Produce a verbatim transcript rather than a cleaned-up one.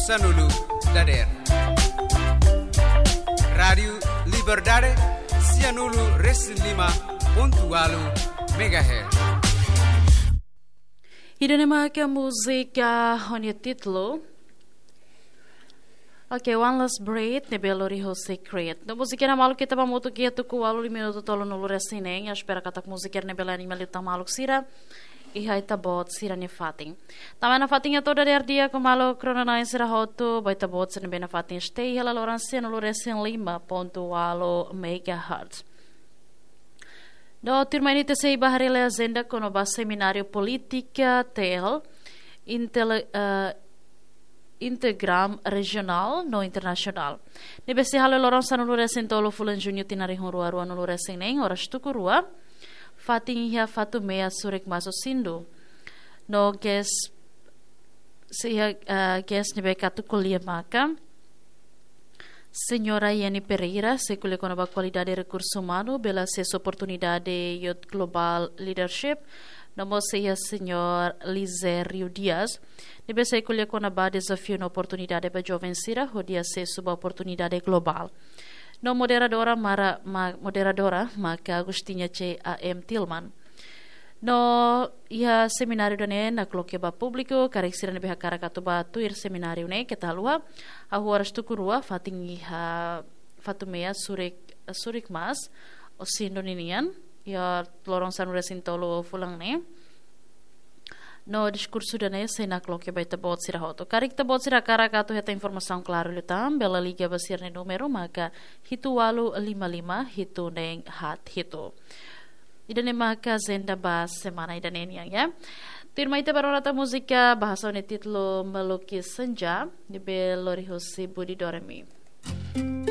Sanulu dader. Rádiu Liberdade, sianulu resin lima pontu walu megahertz. Ida-ne'e maka múzika ho nia títulu, oke, One Last Breath, ne'ebé lori ho Secret. No múzika ne'e maluk ita ba hamutuk iha tuku ualu minutu tolunulu resin neen, espera katak múzika ne'e bele anima liután maluk sira iha ita-boot sira-nia fatin. Tanba nafatin atu dadeer di'ak ho maluk rona-na'in sira hotu, ba ita-boot sira ne'ebé nafatin stay iha laloran sianulu resin lima pontu walu megahertz. No tuirmai ne'e ita sei bá haree lia ajenda kona-ba semináriu polítika T L, intele-, eh, Integram regionál no internasionál. Ne'ebé sei hala'o loron sanulu resin tolu fulan Juñu tinan rihun rua ruanulu resin neen, oras tuku rua, fatin iha Fatumea Surik Maso Sindu. No guest, sei iha, eh, guest ne'ebé atu ko'alia maka Señora Yeni Pereira, sei ko'alia kona-ba kualidade rekursu umanu, bele asesu oportunidade Youth Global Leadership, no mós sei iha Señór Lizério Dias, ne'ebé sei ko'alia kona-ba dezafiu no oportunidade ba joven sira hodi asesu ba oportunidade globál. No moderadora mara, ma-, moderadora maka Agustina C A M Tilman. No iha semináriu ida-ne'e nakloke ba públiku, karik sira ne'ebé hakarak atu bá tuir semináriu ne'e keta haluha, hahú oras tuku rua, fatin iha Fatumea Surik, Surik Maso Sindu ninian, iha loron sanulu resin tolu fulan ne'e. No diskursu ida-ne'e sei nakloke ba ita-boot sira hotu. Karik ita-boot sira hakarak atu hetan informasaun klaru liután, bele liga ba sira-nia númeru maka hitu ualu lima lima hitu neen haat hitu. Ida-ne'e maka ajenda ba semana ida-ne'e nian, ya. Tuirmai ita bá rona tan múzika bahasa ho nia títulu Melukis Senja, ne'ebé lori husi Budi Doremi.